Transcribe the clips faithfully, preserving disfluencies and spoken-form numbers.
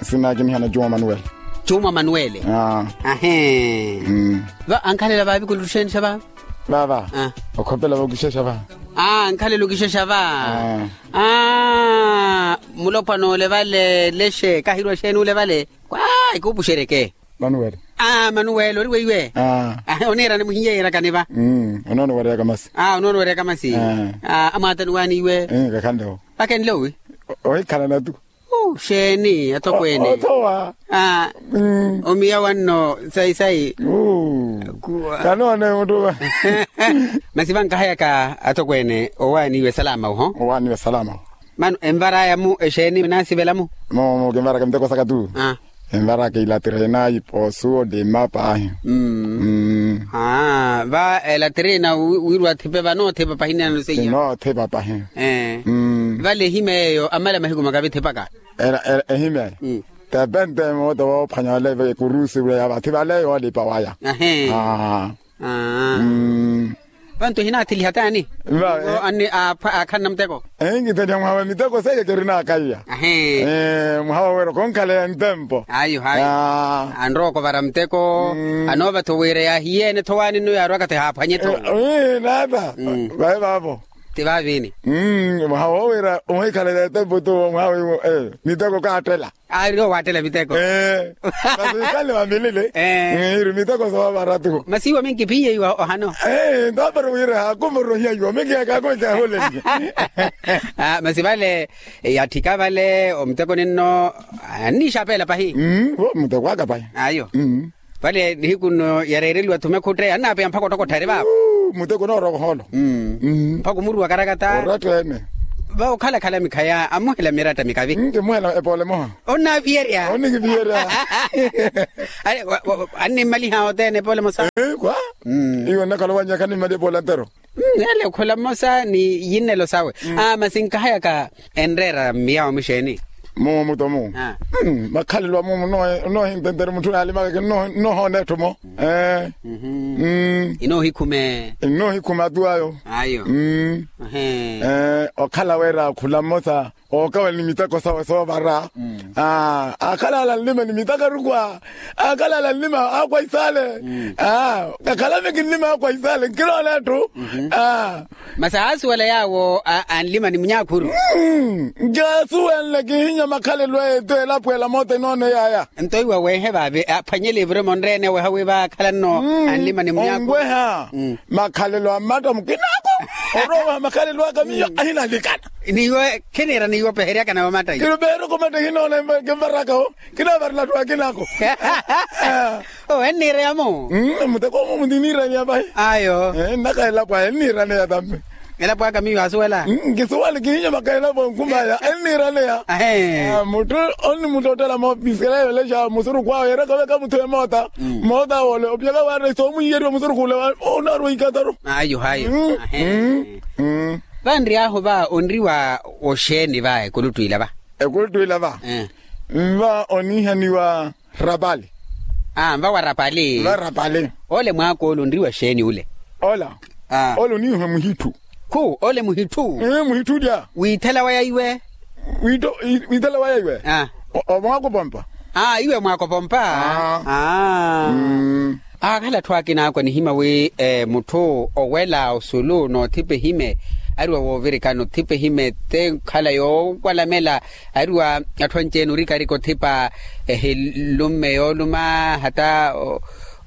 Sinakiniha na juma manuwele. Juma manuwele. Ahee. Va ankhalela vaavikuluxenxa va? Vava. Okhopela vokixexa va? Ankhalela okixexa va? Mulopwana ole vale lexe kahirwa xeeni ole vale? Kwa ikupuxereke. Manuwele. Manuwele ori weiwe? Oniirani muhiyeerakani va? Onoono wareyaka masi. Onoono wareyaka masi. Amwaatani waani iwe? Kakhanle-wo. Vakenle owi? Ohikhalana tu. Xeeni atokweene? Othowa. Omiya wanno sayi sayi. Kanoone mutuma. Masi vankahayaka atokweene owaaniwe salama oho? Owaaniwe salama oho. Mano envaraya-mu exeeni naasivela-mu? Mumu kinvaraka miteko saka tu. Envaraka ilatirena ipoosu olima paahi. Va elatirena wiiriwa athipe vanoothipa pahi nano seiya. Noothipa pahi. Vale ehima eyo amala mahiku makavithipaka? Ehima eyo tepente mooto woophwanya wale ekurusi wula ya vathi vale yoolipa waya. Vantu ehinaathiliha taani? Akhanna muteko. Ehinkitheliha mwaha wa miteko seiya kerinakaiya. Mwaha wa wira okonkhaleya ntempo. Ayo hayo. Anrowa okovara muteko. Anoovatho wira yaahiyeene-tho waani nno yaarwaka-tho ehaaphwanye-tho. Naata. Vaye vaavo. Ti vaavini? Mwaha wowira ohikhaleya ntempo tu mwaha wiwo miteko kaattela. Aari owaattela miteko. Masi wikale wamilile. Iri miteko soovara tu. Masi iwo minkiphiye iwo ohano. Ntapari wira haakumorohiya iwo minkiyaka akoicaholeliye. Masi vale yatthika vale omuteko ninno anniixapeela pahi. Muteko aka pahi. Ayo. Vale nihiku nno yareereliwa-tho mekhutteya annaapeya mpakha ottokotthari vaavo. Muteko onoorowa ohoolo. Mpakha omuruwa karakata. Oratta-ene. Vawo okhalakhala mikhaya amuhela miratta mikavi. Kimuhela epoole emoha. Onnaaviyerya. Onnikiviyerya. Annimmaliha othene epoole emosa. Kwa iwe onnakhala owanyaka animmaliha epoole antero. Ele okhula mmosa ni yinnelo sawe. Masi nkahayaka enreera mmiyawo mixeeni? Mumu muto mumu. Makhalelo a mumu. Noohintentere mutthu naalimaka kinnohoona etthu mo. Inoohikhume. Inoohikhume atu ayo. Ayo. Okhala wira okhula mmosa ookawela ni miteko sawe soovara. Akhalala nlima ni miteko arukwa. Akhalala nlima akwa isaale. Kakhalame kinnima akwa isaale nkinoona etthu. Masi aasuwela yaawo anlima ni munyaakhuru. Njaasuwenle kihinya makhalelo eetu elapo ela moota inoona eyaaya. Nto iwe weehe vaavi aphwanyele evurema onreene weeha wi vaakhala nno anlima ni munyaakhuru. Onweha makhalelo a mmatta mukinaako. Orowa weeha makhalelo aka miyo ahinalikana. Niiwe khiniira niiwe opeheryakana wa matta iyo. Kilupeheryaka omatta ehinoona kinvaraka-wo. Kinaavarela atthu akinaako. Owo enniireya-mo. Muteko-mo muniiniiraneya vahi. Ayo. Nnaka elapo aya enniiraneya tammi. Elapo aka miyo aasuwela. Nkisuwale kihinya maka elapo nkhumaya enniiraneya. Mutthu onnimuttottela moopisikela yoolexa musurukhu awe yeerakaveka mutthu emoota. Moota woole opiyaka waaretta soomuhiyeriwa musurukhu ole. Onaarwa ikataru. Ayo hayo. Vanriy'ahu va onriwa oxeeni va ekuluttu ila va? Ekuluttu ila va nva oniihaniwa rapali. Aa nva wa rapali. Nva rapali. Ole mwaak'ole onriwa xeeni ole? Ola ole oniihiwa muhitthu. Khu ole muhitthu. Muhitthu olya. Wiithela waya iwe. Wiithela waya iwe. Omwaakopompa. Aa iwe mwaakopompa. Aakhala atthu akina akwa nihima wi mutthu owela osulu n'othipa ehime ariwa woovirikana othipa ehime te nkhala yoowalamela ariwa atthu anci-ene orikarika othipa ehilumme yooluma hata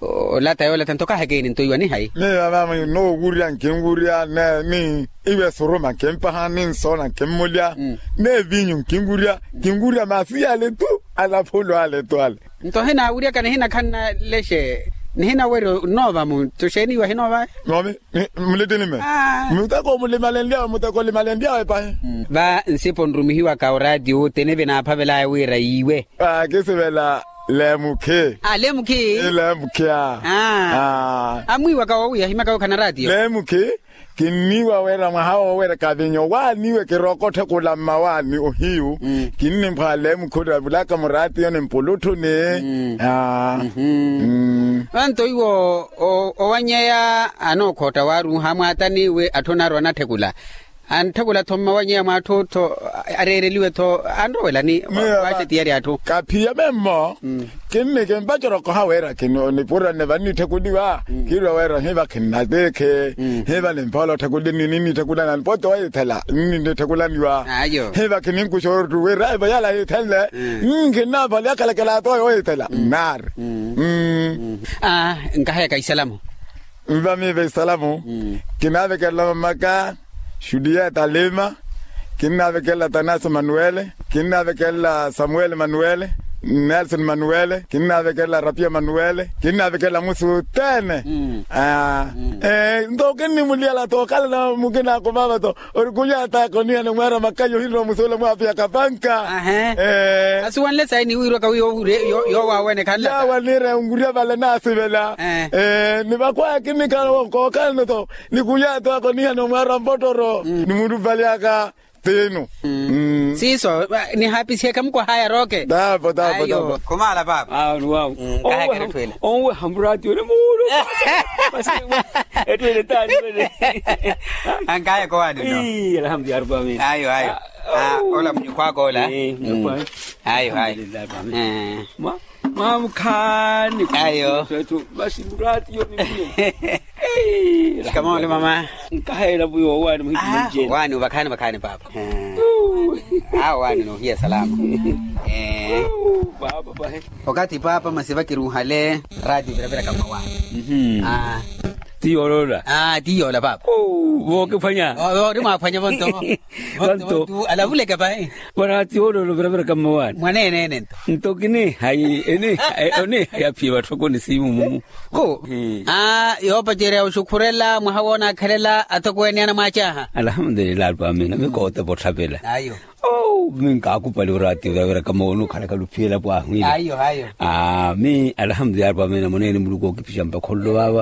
olata yoolata nto kaha ekeeni nto iwa nihayi. Miyo mama nnoowurya nkinwurya ni iwe suruma nkimpaha ni nsoona nkimmulya ni evinyu nkinwurya nkinwurya maasi yale tu. Alaphulu ale tu ale. Nto hinaawuryaka nihinakhanna lexe nihinawerya onnoova mu nto xeeni iwe ahinoova? Nomi muleteni me. Muteko mulimalenlyawe muteko limalenlyawe pahi. Va nsipo nrumihiwaka oraatiyo wothene vinaaphavelaya wira yiiwe. Kisivela lemukhi. Lemukhi. Lemukhi a amwiiwaka woowiya ahimaka wookhana raatiyo. Lemukhi. Kinniiwa wira mwaha woowereka vinyo waani iwe kirookotthekula mmawaani ohiyu. Kinnimpha lemukhi oravulaka muraatiyo ni mpulutthuni. Vanto iwo owanyeya anookhotta waaruuha mwaatani wi atthu onaarwa anatthekula. Antthakula-tho mmawanyeya mw'atthu-tho, areereliwe-tho anrowela ni waaxe tiyari atthu. Kaphiya memmo. Kinni kimpaceroko haweera kinipurane vannitthekuniwa. Kiirwa weera hiva khinnatikhi. Hiva nimphola otthekulini ninnitthekulana nipote wayithela ninnitthekulaniwa. Hiva khininkuxa oruttu wira evo yala yithenle. Nkhinnampali yakhalakela atoyo wayithela nnaari. Nkahayaka isalamu. Nva miiva isalamu. Kinaavekelela mamaka xuliya talima. Kinnaavekelela tanasi manuwele. Kinnaavekelela samuwele manuwele. Nelson manuwele kinnaavekelela rapiya manuwele. Kinnaavekelela musi othene. Nto kinnimuliyala tookhalana mukinaako vaava to. Ori kunyata konihana mwaara makayi ohinrowa musuula mwaapiya kapanka. Asiwanle sayi ni wirwaka wi yoowaawene khanlaka yawa niire nkurya vale naasivela. Ni vakhwaya kinikhala kookhalano to. Ni kunyata konihana mwaara mpottoro ni muluvalyaka. Tiinu. Siiso. Nihaapisihe khamukwahaya rooke. Tapo tapo tapo. Khumaala paapa. Awo ni wawo. Onweha muraati yone muulu. Ettwele taani wene. Ankaya kowaani no. Alhamdulillahi rabbil alamin. Ayo ayo. Ola munyukhwaka ola. Ayo ayo. Mwamukhaani. Ayo. Basi muraati yone muulu. Shikamoo mama. Nkahela vuyo owaani muhimmujeni. Owaani ovakhaani vakhaani paapa. Awo owaani noohiya salama. Paapa pahe. Wakati paapa masi vakiruuhale. Raati oviraviraka mmawaani. Ti yoolola. Ti yoola paapa. Vookiphwanya. Ori mwaaphwanya vonto. Vonto. Alavuleke pahe. Varaati yoolola oviraviraka mmawaani. Mwaneeneene nto. Nto kinihayi onihayi aphiye vatthokoni siimu mumu. Kho. Yoopacerya oxukhurela mwaha woonaakhelela atokweene anamwaac'aha. Alhamdulillah arupamina mikoote votthavela. Ayo. Minkaakupali oraati viraviraka mooni okhalaka luphiyela pwaahwiile. Ayo ayo. Mi alhamdulillah arupamina moneene muluku ookipixa mpakha ololo vaava.